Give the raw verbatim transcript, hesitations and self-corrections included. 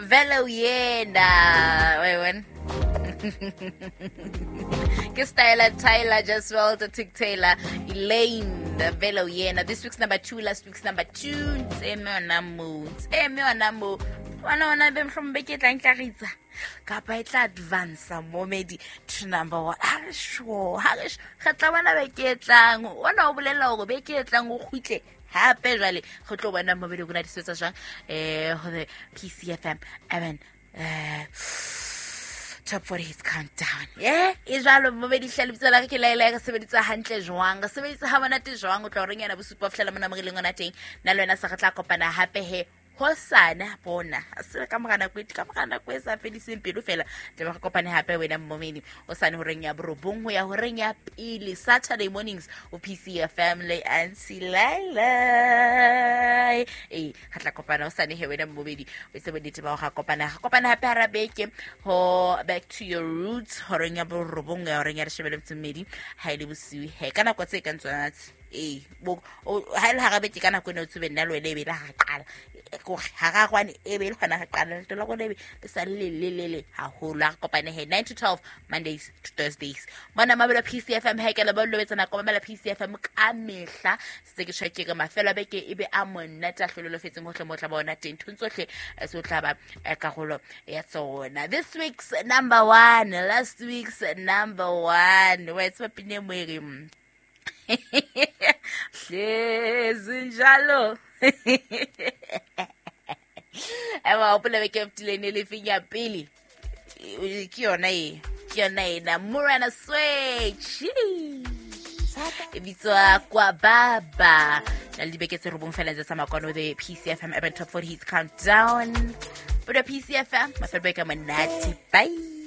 Vele uyena wewe. Ke Styler Tyler just well to Tick Taylor Elaine Vele uyena. This week's number two, last week's number two. Tseme yona mo, tseme yona mo. Bona ona be mohlomong beke e tlang tla ritsa kapa e tla advance momedi to number one. Ha re sure, ha re re tla bona beke e tlang. Ona o bolela hore beke e tlang o kgutle hape jwale re tlo bona momedi rona di sebetsa jwang eh ho the P C F M Urban eh Top forty hits countdown. Yeah, e jwalo momedi hle lebitso la ke laela re sebeditse hantle jwang, re sebeditse ha monate jwang. O tla reng yana bosupa fihlela mona mo re leng hona teng. Nna le wena sa re tla kopana hape he hosane bona se ka mora nako e ka mora nako e sa fediseng pelo fela. Tla re kopane hape wena momedi hosane horeng ya borobong ho ya horeng ya pele Saturday mornings o P C F M le Auntie Laila. Eh re tla kopana hosane he wena momedi o se bonnete ba go kopana ga kopana hape hara beke ho back to your roots horeng ya borobong ya horeng ya leshome le metso e mmedi ha ile bosiu he ka nako tse ka ntsona. Eh bo ha ile hara beke ka nako eno tsebe nna le wena e be le ha qala gore ha ga gwane e be le gona ga qala leto la gone e be le sa le le le le haholo. A re kopane he nine to twelve Mondays to Thursdays mona mabelo P C F M. He ke le ba lobetsa nako mamela P C F M ka mehla se ke tjho ke re mafelo a beke e be a monate a hlololofetseng hohle mo tla bona teng nthong tsohle se o tla ba karolo ya tsona. This week's number one, last week's number one. Wa tseba pine mo e reng hlezi njalo. Ewa hopola beke e fetileng e le feng ya pele ke yona e ke yona ena Morena Switch e bitswa Kwa Baba. Na le dibeke tse robong fela tse tsa makwano the P C F M Urban Top forty Hits Countdown. But P C F M mafelo beke a monate. Bye.